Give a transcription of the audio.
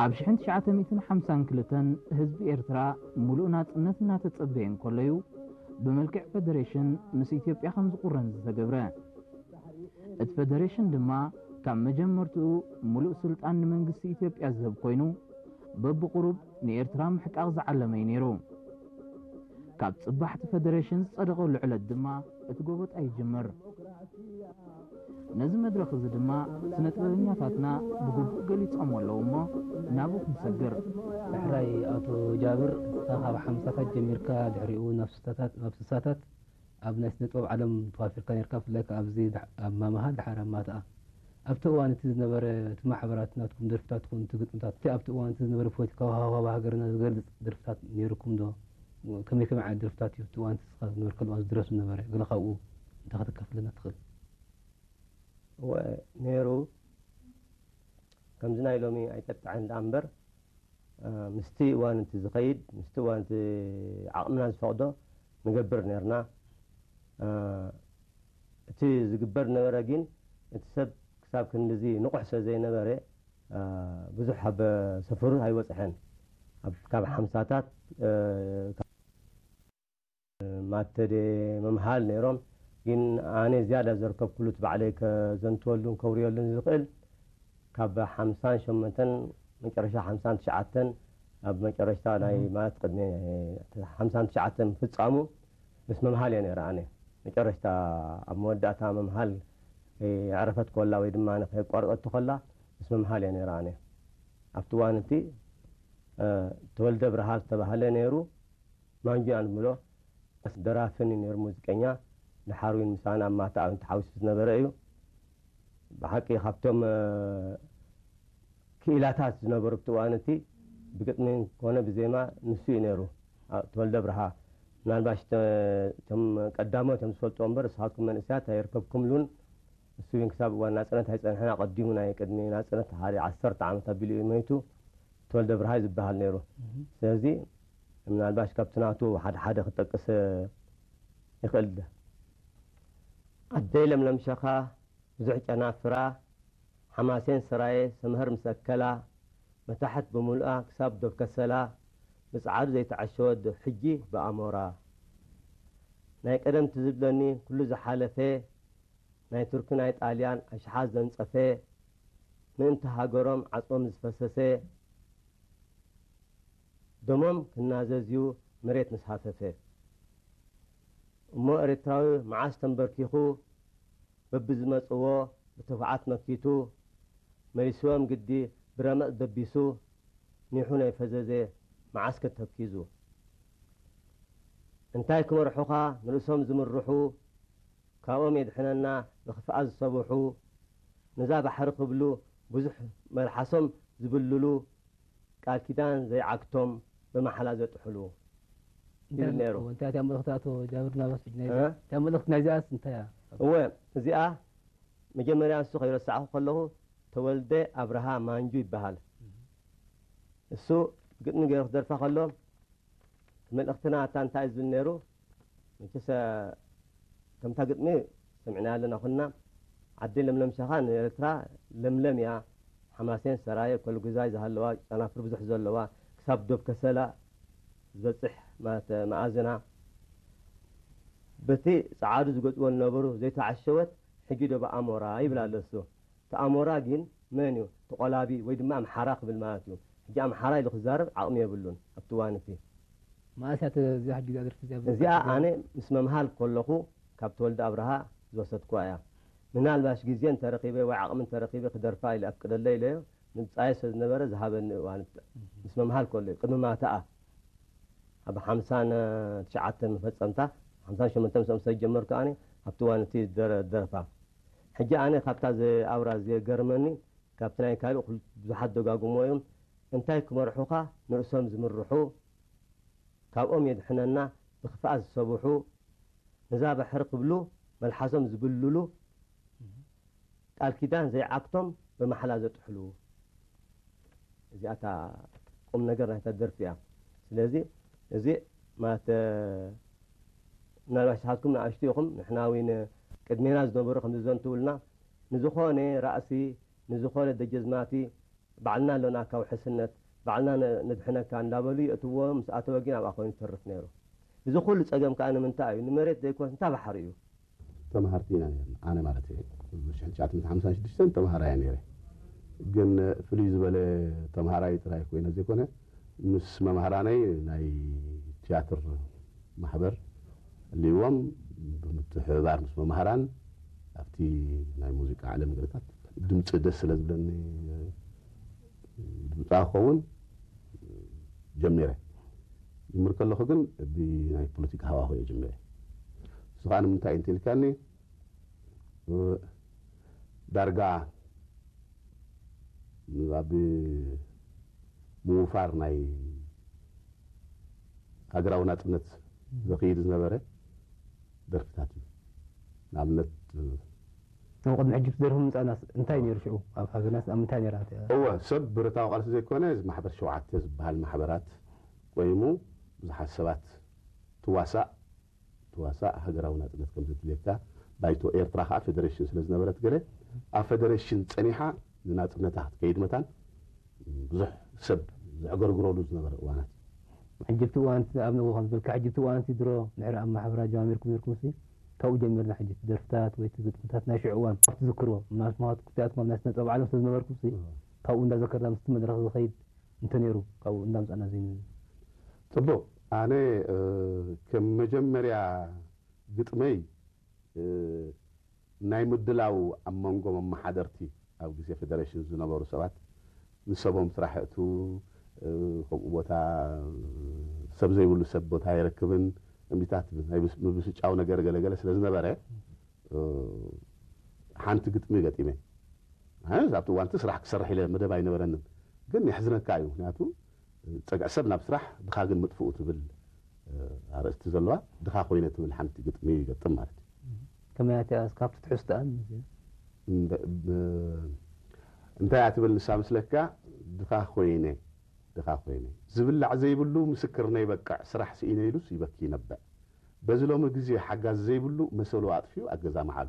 ኣብ ሽሕን ትሽዓተ ሚእትን ሓምሳን ክልተን ህዝቢ ኤርትራ ሙሉእ ናጽነት እናተጸበየ እንከሎዩ ብመልክዕ ፈደሬሽን ምስ ኢትዮጵያ ከም ዝቑረን ዝተገብረ። እቲ ፈደሬሽን ድማ ካብ መጀመርትኡ ሙሉእ ስልጣን ንመንግስቲ ኢትዮጵያ ዝህብ ኮይኑ፣ በብቑሩብ ንኤርትራ ምሕቃቕ ዝዓለመ እዩ ነይሩ። ካብ ጽባሕቲ ፈደሬሽን ዝጸደቐሉ ዕለት ድማ እቲ ጎበጣ ይጅምር። ነዚ መድረኽ እዚ ድማ ስነ ጥበበኛታትና ብግቡእ ገሊጾሞ ኣለዉ እሞ፣ ናብኡ ክንሰግር። ዳሕራይ ኣቶ ጃብር፣ እስኻ ካብ ሓምሳታት ጀሚርካ፣ ድሕሪኡ ናብ ስሳታት፣ ናብ ስሳታት ኣብ ናይ ስነ ጥበብ ዓለም ተዋፊርካ ነርካ። ብፍላይ ከኣ ኣብዚ ዳ-፣ ኣብ ማመሃል፣ ድሓር ኣብ ማትኣ። ኣብቲ እዋን እቲ ዝነበረ፣ እቲ ማሕበራት ናትኩም ደርፍታት ትኹን እቲ ግጥምታት፣ እቲ ኣብቲ እዋን እቲ ዝነበረ ፖለቲካዊ ሃዋህው ሃገርና ዝገልጽ ደርፍታት ነይሩኩም ዶ? ከመይ ከመይ ዓይነት ደርፍታት እዩ ኣብቲ እዋን እቲ ንስኻ ዝነበርከሉ እዋን ዝድረፍ ዝነበረ? ገለ ካብኡ እንተ ከተካፍለና ትኽእል? እወ፣ ነይሩ። ከምዚ ናይ ሎሚ ኣይጠጥዐን ደኣ እምበር፣ እ፣ ምስቲ እዋን እቲ ዝኸይድ፣ ምስቲ እዋን እቲ ዓቕምና ዝፈቕዶ ንገብር ነርና። እ፣ እቲ ዝግበር ነበረ ግን፣ እቲ ሰብ ክሳብ ክንድዚ ንቑሕ ስለ ዘይነበረ፣ እ፣ ብዙሕ ኣብ ሰፈሩ ኣይበጽሐን። ኣብ፣ ካብ ሓምሳታት፣ እ፣ ማተደ መምሃል ነይሮም። ግን ኣነ ዝያዳ ዘርከብኩሉ፣ እቲ ባዕለይ ከዘንትወሉን ከውርየሉን ዝኽእል፣ ካብ ሓምሳን ሸሞንተን፣ መጨረሻ ሓምሳን ትሽዓተን፣ ኣብ መጨረሽታ ናይ፣ እህ። ማለት፣ ቅድሚ ሓምሳን ትሽዓተን ምፍጻሙ ምስ መምሃል እየ ነይረ። ኣነ መጨረሽታ ኣብ መወዳእታ መምሃል፣ እ፣ የዕረፈት ኮላ ወይ ድማ ከየቋረጸት ኮላ፣ ምስ መምሃል እየ ነይረ። ኣነ ኣብቲ እዋን እቲ፣ እ፣ ተወልደ ብርሃ ዝተባህለ ነይሩ። ማንጁ ኢና ንብሎ። ደራፍን እዩ ነይሩ፣ ሙዚቀኛ። ድሓር እውን ምሳና ኣብ ማታ ኣብ ተሓዊሱ ዝነበረ እዩ። ብሓቂ ካብቶም፣ እ፣ ክኢላታት ዝነበሩ ኣብቲ እዋን እቲ ብግጥሚ ኮነ ብዜማ ንሱ እዩ ነይሩ። ኣ-፣ ተወልደ ብርሃ። ምናልባሽ ተ-፣ እቶም ቀዳሞት እዮም ዝፈልጥዎ እምበር፣ ንስኻትኩም መንእሰያት ኣይርከብኩምሉን። ንሱ እውን ክሳብ እዋን ናጽነት ኣይጸንሐን፣ ኣቐዲሙ፣ ናይ ቅድሚ ናጽነት ሓደ ዓሰርተ ዓመት ኣቢሉ እዩ ሞይቱ። ተወልደ ብርሃ እዩ ዝበሃል ነይሩ። እህ። ስለዚ ምናልባሽ ካብቲ ናቱ ሓደ ሓደ ክጠቅስ ይኽእል። ኣደይ ለምለም ሸኻ፣ ብዙሕ ጨናፍራ፣ ሓማሴን ሰራየ ሰምሀር ምስ ኣከላ፣ መታሕት ብምሉኣ ክሳብ ዶብ ከሰላ፣ ብጸዓዱ ዘይተዓሸወት ዶብ ሕጂ ብኣሞራ። ናይ ቀደም ትዝ ዝብለኒ ኩሉ ዝሓለፈ፣ ናይ ቱርኪ ናይ ጣልያን ኣሽሓት ዘንጸፈ፣ ምእንቲ ሃገሮም ዓጽሞም ዝፈሰሰ፣ ደሞም ክናዘዝ እዩ መሬት ምስ ሃፈፈ። እሞ ኤርትራዊ መዓስ ተንበርኪኹ፣ በብዝመጽዎ ብትብዓት መኪቱ፣ መሊስዎም ግዲ ብረመጽ ደቢሱ፣ ኒሑ ናይ ፈዘዘ መዓስ ከተኪዙ። እንታይ ክመርሑኻ ንርእሶም ዝምርሑ፣ ካብኦም የድሕነና ብኽፍኣት ዝሰብሑ፣ ነዛ ባሕሪ ክብሉ ብዙሕ መልሓሶም ዝብልሉ፣ ቃል ኪዳን ዘይዓግቶም ብማሕላ ዘጥሕሉ ይብል ነይሩ። እንታይ እያ መልእኽቲ ኣቶ ጃብር ናበስ ናይ እ? እንታይ መልእኽቲ ናይዚኣስ እንታይ እያ? እወ፣ እዚኣ መጀመርያ ንሱ ከይረሳዕኹ ከለኹ ተወልደ ኣብርሃ ማንጁ ይበሃል። እህ። እሱ ግጥሚ ገይሩ ክደርፋ ከሎ፣ መልእኽትና እታ እንታይ እዩ ዝብል ነይሩ? መቸስ፣ ከምታ ግጥሚ ሰሚዕናያ ኣለና ኩልና። ዓዲ ለምለም ሸኻ ንኤርትራ ለምለም እያ። ሓማሴን ሰራየ፣ ኮልጉዛይ ዝሃለዋ፣ ጨናፍር ብዙሕ ዘለዋ፣ ክሳብ ዶብ ከሰላ ዝበጽሕ ማለት መኣዝና። በቲ ጸዓዱ ዝገጽዎ ዝነበሩ ዘይተዓሸወት ሕጂ ዶ ብኣሞራ ይብል ኣሎ እሱ። እቲ ኣሞራ ግን መን እዩ? እቲ ቆላቢ ወይ ድማ ኣምሓራ ክብል ማለት እዩ። ሕጂ ኣምሓራ ኢሉ ክዛረብ ዓቕሚ የብሉን ኣብቲ እዋን እቲ። መኣስ እያ እዛ ሕጂ እዛ ደርፊ እዚኣ እዚኣ ኣነ ምስ መምሃል ከለኹ ካብ ተወልደ ኣብርሃ ዝወሰድኩዋ እያ። ምናልባሽ ግዜ እንተረኺበ ወይ ዓቕሚ እንተረኺበ ክደርፋ ኢለ ኣፍቅደለይ ኢለዮ። ምብጻየ ስለ ዝነበረ ዝሃበኒ እዋን ምስ መምሃል ከሎ እዩ። ቅድሚ ማታኣ ኣብ ሓምሳን ትሽዓተን መፈጸምታ፣ ሓምሳን ሸሞንተን ምስኦም ስለ ዝጀመርኩ ኣነ ኣብቲ እዋን እቲ ደረ-፣ ደርፋ። ሕጂ ኣነ ካብታ ዘ-፣ ኣውራ ዝገርመኒ፣ ካብቲ ናይ ካልእ ኩል-፣ ብዙሓት ደጋግሞ እዮም። እንታይ ክመርሑኻ ንርእሶም ዝምርሑ፣ ካብኦም የድሕነና ብኽፍኣት ዝሰብሑ፣ ነዛ ባሕሪ ክብሉ መልሓሶም ዝብልሉ፣ ቃል ኪዳን ዘይዓግቶም ብማሕላ ዘጥሕሉ። እዚኣ እታ ቁም ነገር ናይታ ደርፊ እያ። ስለዚ እዚ ማለት፣ እ፣ ምናልባት ንስኻትኩም ንኣሽቱ ኢኹም፣ ንሕና እውን ቅድሜና ዝነበሩ ከም ዝዘንትውልና፣ ንዝኾነ ራእሲ፣ ንዝኾነ ደጀዝማቲ፣ ባዕልና ኣሎና ካብ ውሕስነት፣ ባዕልና ን-፣ ንድሕነካ እንዳበሉ የእትዎ፣ ምስ ኣተወ ግን ኣብኣ ኮይኑ ዝተርፍ ነይሩ። እዚ ኩሉ ጸገም ከኣ ንምንታይ እዩ? ንመሬት ዘይኮነስ እንታይ ባሕሪ እዩ? ተምሃርቲ ኢና ነርና፣ ኣነ ማለት እየ። ሽሕን ትሽዓተ ሚእትን ሓምሳን ሽዱሽተን ተምሃራይ እየ ነይረ። ግን ፍልይ ዝበለ ተምሃራይ ጥራይ ኮይነ ዘይኮነ፣ ምስ መምሃራነይ ናይ ትያትር ማሕበር ኣልይዎም ብምትሕብባር ምስ መምሃራን ኣብቲ ናይ ሙዚቃ ዓለም ገለታት ድምፂ ደስ ስለ ዝብለኒ ድምፃ ክኸውን ጀሚረ። ጅምር ከለኹ ግን ብናይ ፖለቲካ ሃዋሁ እየ ጀሚረ። ንሱ ከዓ ንምንታይ እዩ እንተኢልካኒ፣ ዳርጋ ኣብ ምውፋር ናይ ሃገራዊ ናጽነት ዘኽይድ ዝነበረ ደርፍታት እዩ። ንኣብነት፣ ኣብ ቅድሚ ሕጂ እቲ ደርፊ ምምጻእናስ እንታይ ነይሩ ሽዑ? ኣብ ሃገርናስ ኣብ ምንታይ ነይራ እቲኣ? እወ፣ ሰብ ብረታዊ ቃልሲ ዘይኮነ፣ እዚ ማሕበር ሸውዓተ ዝበሃል ማሕበራት ቆይሙ ብዙሓት ሰባት ትዋሳእ፣ ትዋሳእ ሃገራዊ ናጽነት ከም ዘድልየካ፣ ባይቶ ኤርትራ ከኣ ፌደሬሽን ስለ ዝነበረት ገለ ኣብ ፌደሬሽን ጸኒሓ ንናጽነታ ክትከይድ መታን ብዙሕ ሰብ ዘዕገርግረሉ ዝነበረ እዋናት። ሕጂ እቲ እዋን እቲ ኣብ ንግሆ ከም ዝበልካ፣ ሕጂ እቲ እዋን እቲ ድሮ ድሕሪ ኣብ ማሕበራ ጀማሚርኩም ነርኩም ሲ፣ ካብኡ ጀሚርና ሕጂ እቲ ደርፍታት ወይ እቲ ግጥምታት ናይ ሽዑ እዋን ኣብ ትዝክርዎ፣ ምናልባት ክልቲኣትኩም ኣብ ናይ ስነ ጥበብ ዓለም ስለ ዝነበርኩም ሲ፣ እዎ። ካብኡ እንዳዘከርና ምስቲ መድረኽ ዝኸይድ እንተ ነይሩ፣ ካብኡ እንዳምጻና ዘይንብል። ጽቡቕ። ኣነ፣ እ፣ ከም መጀመርያ ግጥመይ፣ እ፣ ናይ ምድላው ኣብ መንጎ መመሓደርቲ ኣብ ግዜ ፌደሬሽን ዝነበሩ ሰባት ንሰቦም ስራሕ የእቱ፣ እ፣ ከምኡ ቦታ፣ እ፣ ሰብ ዘይብሉ ሰብ ቦታ ኣይረክብን፣ እምቢታት ናይ ምስ-፣ ምብስጫው ነገር ገለገለ ስለ ዝነበረ፣ እ፣ ሓንቲ ግጥሚ ገጢመ። ኣነ ኣብቲ እዋንቲ ስራሕ ክሰርሕ ኢለ መደብ ኣይነበረንን። ግን የሕዝነካ እዩ። ምክንያቱ ጸግዒ ሰብ ናብ ስራሕ፣ ድኻ ግን ምጥፍኡ ትብል፣ እ፣ ኣርእስቲ ዘለዋ፣ ድኻ ኮይነ ትብል ሓንቲ ግጥሚ ይገጥም ማለት እዩ። ከመይ እያ እቲኣ? ካብቲ ትሕዝቶኣን? እንደ-፣ ብ-፣ እንታይ እያ ትብል ንሳ ምስለካ? ድኻ ኮይነ፣ ድኻ ኮይነ። ዝብላዕ ዘይብሉ ምስክርነይ በቅዕ፣ ስራሕ ስኢነ ኢሉስ ይበኪ ይነብዕ። በዚ ሎሚ ግዜ ሓጋዚ ዘይብሉ መሰሉ ኣጥፊኡ ኣብ ገዛ መዓሉ።